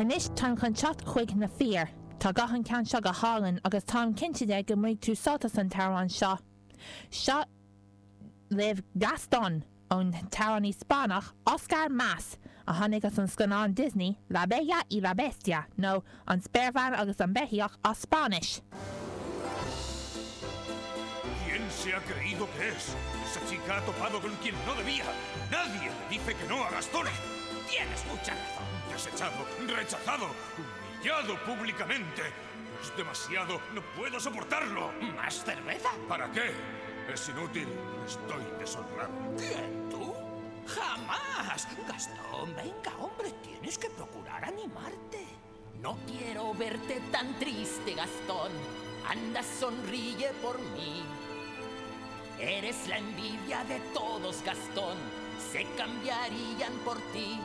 Anois táim chun teacht chuig na fir. Tá guth an ceann seo go hálainn agus táim cinnte de go mbainfidh tú sult as an t-amhrán seo. Seo libh Gastón ón t-amhránaí Spáinneach Oscar Mas, a tháinig as an scannán Disney La Bella y la Bestia, nó An Spéirbhean agus an Beithíoch as Spáinnis. ¿Quién se ha creído que es? Esa chica ha topado con quien no debía. Nadie le dice que no a Gastón. Tienes mucha razón. Desechado, rechazado, humillado públicamente. Es demasiado, no puedo soportarlo. ¿Más cerveza? ¿Para qué? Es inútil, estoy deshonrado. ¿Quién, tú? ¡Jamás! Gastón, venga, hombre, tienes que procurar animarte. No quiero verte tan triste, Gastón. Anda, sonríe por mí. Eres la envidia de todos, Gastón. Se cambiarían por ti.